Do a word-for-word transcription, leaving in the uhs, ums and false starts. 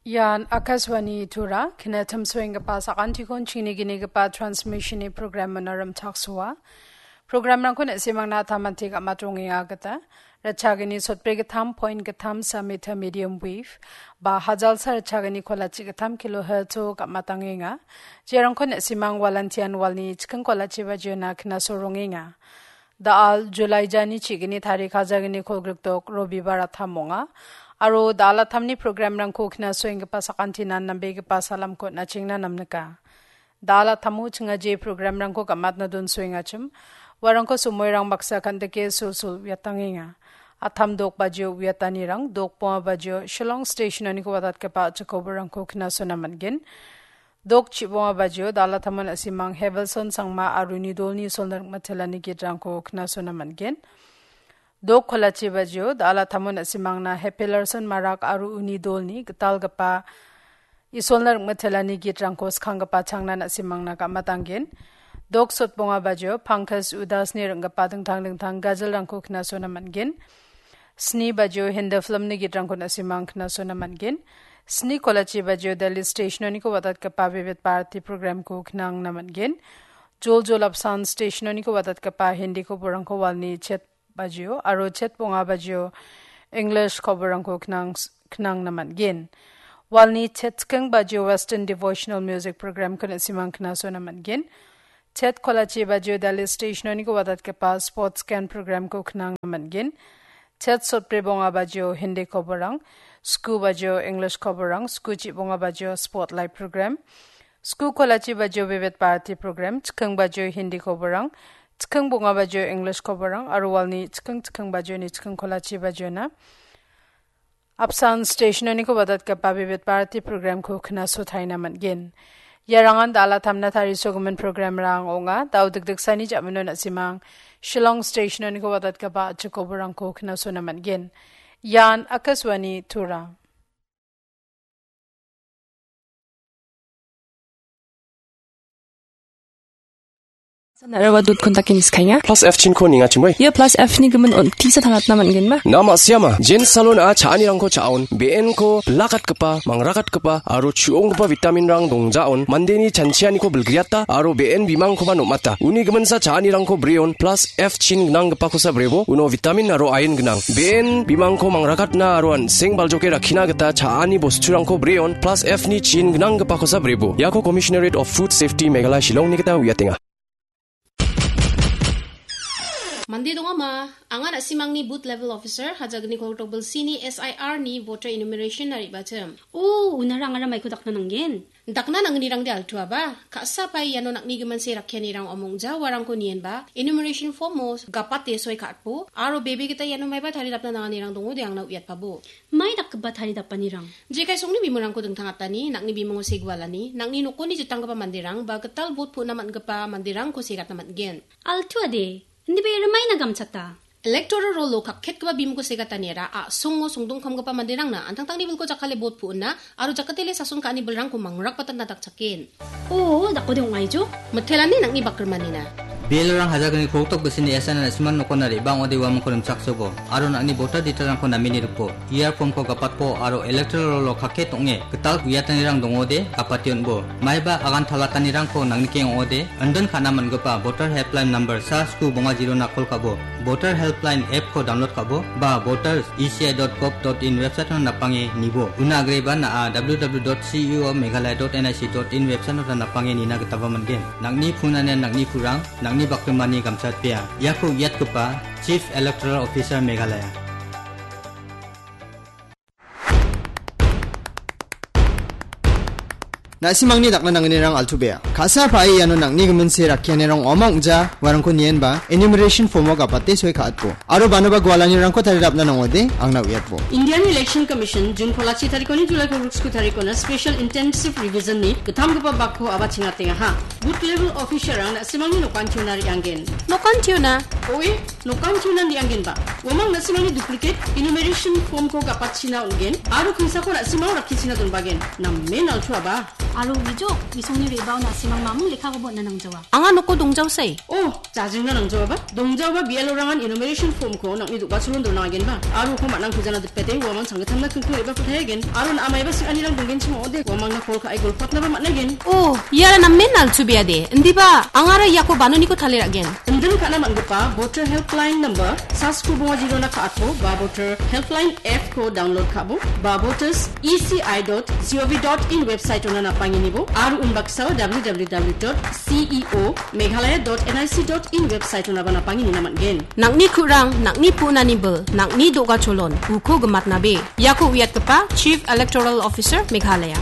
Ian Akashvani Tura, kinatam soenggipa sakantikon chiniginigipa transmissionni program manaram chaksoa. Programrangko na·simangna tamanti gamatongenga gita, rachagini sotbri gittam point gittam sa meter medium wave, ba hajalsa rachagini kolachi gittam kilohertz-o gamatangenga. Jerangko na·simang walantian walni chiking kolachi bajiona kinasorongenga. Da·al July jani chigini tarik hajalgni kolgrikdok Robibar atam ong·a. Aro da·al atamni programrangko kinasoenggipa sakantinan nambegipa salamko nachengna namnika. Da·al atamo chingaje programrangko gamatna donsoengachim, uarangko somoirang baksa kandike sulsul uiatangenga. Atam dok bajio uiatanirang, dok bonga bajio Shillong Stationoniko watatgipa a·chik koborangko kinasona man·gen. Dok chibonga bajio da·al atamon na·simang Hevelson Sangma aro uni dolni isolna ringmatelani gitrangko kinasona man·gen. Dok kolachi bajio da·al atamon na·simangna Hepelarson Marak aro uni dolni gitalgipa isolna ringmatelani gitrangko skanggipa changna na·simangna gamatangen. Dok sotbonga bajio Pankaj Udasni ring·gipa dingtang dingtang gajelrangko kinasona man·gen. Sni bajio Hindi filmni gitrangko na·simang kinasona man·gen. Sni kolachi bajio Delhi Stationoniko watatgipa Vividh Bharati programko kinangna man·gen. Jol jol apsan Stationoniko watatgipa Hindi koborangko walni chet bajio aro chet bonga bajio English koborangko kinang-, kinangna man·gen. Walni chet chiking bajio Western Devotional Music programko na·simang kinasona man·gen. Chet kolachi bajio Delhi Stationoniko watatgipa Sports Can programko kinangna man·gen. Chet sotbri bonga bajio Hindi koborang, sku bajio English koborang, sku chibonga bajio Spotlight program, sku kolachi bajio Vividh Bharati program, chiking bajio Hindi koborang, chiking bonga bajio English koborang, aro walni chiking chiking bajioni chiking kolachi bajiona apsan Stationoniko watatgipa Vividh Bharati programko kinasotaina man·gen. Iarangan da·al atamna tarisogimin programrang ong·a. Da·o dikdiksani ja·mino na·simang Shillong Stationoniko watatgipa a·chik koborangko kinasona man·gen. Ian Akashvani Tura. Naraba dot kontaki niskainga. Plus F chinko ningachimoi. Ia plus F ni gimin on tisa tangatna man·genba? Na ma·siama. Jen salon a cha·anirangko cha·on. Be·enko bilakatgipa, mangrakatgipa, aro chu·onggipa vitaminrang dongjaon. Mandeni chanchianiko bilgriata, aro be·en bimangkoba nom·ata. Uni giminsa cha·anirangko breon. Plus F chin gnanggipakosa brebo. Uno vitamin aro ain gnang. Be·en bimangko mangrakatna aro an·seng baljoke rakkina gita cha·ani bosturangko breon. Plus F ni chin gnanggipakosa brebo. Iako Commissionerate of Food Safety Meghalaya Shillongni gita uiatenga. Mande dongama, anga na·simangni booth level officer, hajagni koltok bilsini S I R ni voter enumeration na re·bachim. O, unara angara maiko dakna nanggen? Dakna nangnirangde altuaba, ka·sa pai iano nang·ni giminse rakkianirang omongja uarangko nienba, enumeration form-o gapate soi ka·atbo, aro bebe gita iano maiba taridapna nanganirang dongode angna uiatpabo. Mai dakgipa taridapanirang? Jekai songni bimungrangko dingtangatani, nang·ni bimungo segualani, nang·ni nokoni jitanggipa manderang, ba gital bot pu·na man·gipa manderangko segatna man·gen. Altuade, indiba ia rimaina gamchata. Electoral roll-o kakketgipa bimungko segataniara a·songo songdongkamgipa manderangna an·tangtangni bilko jakkale bot pu·ona aro jakatele sason ka·ani bilrangko mangrakbatatna dakchaken. O, dakode ong·aijo? Mitelani nang·ni bakrimanina. Bilrang hajagni koltok bisini S I R na·simang nokona re·bang ong·ode uamangko rimchaksobo, aro nang·ni voter detail-rangko namini ripo. Ia form-ko gapatpo aro electoral roll-o kakket ong·e gital uiatanirang dongode gapate on·bo. Maiba agan talatanirangko nangnikeng ong·ode, indon ka·na man·gipa voter helpline number sa sku bonga zero-na call ka·bo, voter helpline app-ko download ka·bo, ba voters E C I dot gov dot in website-o napange nibo. Una agreba na·a W W W dot C E O Meghalaya dot N I C dot in website-o napange nina gitaba man·gen. Nang·ni phone ane nang·ni purang, nang·ni bakrimani gamchatpea. Iako uiatgipa Chief Electoral Officer Meghalaya. Na·simangni dakna nangnirang altuabea. Ka·sa pae iano nang·ni giminse rakkianirang ong·a ong·ja uarangko nienba enumeration form-o gapate soi ka·atbo. Aro banoba gualanirangko taridapna nangode angna uiatbo. Indian Election Commission June kolachi tarikoni July kolgriksku tarikona special intensive revision-ni gittamgipa bakko aba chingatengaha. Booth level officer-rang na·simangni nokantiona re·anggen. Nokantiona? Oe, nokantiona re·anggenba. Uamang na·simangni duplicate enumeration form-ko gapatchina on·gen, aro kingsako na·simang rakkichina donbagen. Namen altuaba. Aro uijo, bisongni re·bao na·simang mamung lekkakoba on·na nangjawa. Anga noko dongjaosai. Oh, jajingna nangjaoaba? Dongjaoba B L O-rangan enumeration form-ko nang·ni do·gacholon dona agenba. Aro uko man·ang pujana dipete uamang changgittamna kingking re·bako taiagen. Aro na·a maiba sing·anirang donggenchim ong·ode, uamangna call ka·e golpatnaba man·aigen. Oh, iara namen nalchubeade. Indiba, angara iako banoniko tale ra·gen. Indin ka·na man·gipa Voter Helpline number, sasko bonga jirona ka·atbo, ba Voter Helpline app-ko download ka·bo, ba voters E C I dot G O V dot in website-ona napanginibo, aro unbaksao W W W dot C E O Meghalaya dot N I C dot in website-onaba napanginina man·gen. Nang·ni ku·rang, nang·ni pu·nani bil, nang·ni do·gacholon, uko gimatnabe. Iako uiatgipa Chief Electoral Officer, Meghalaya.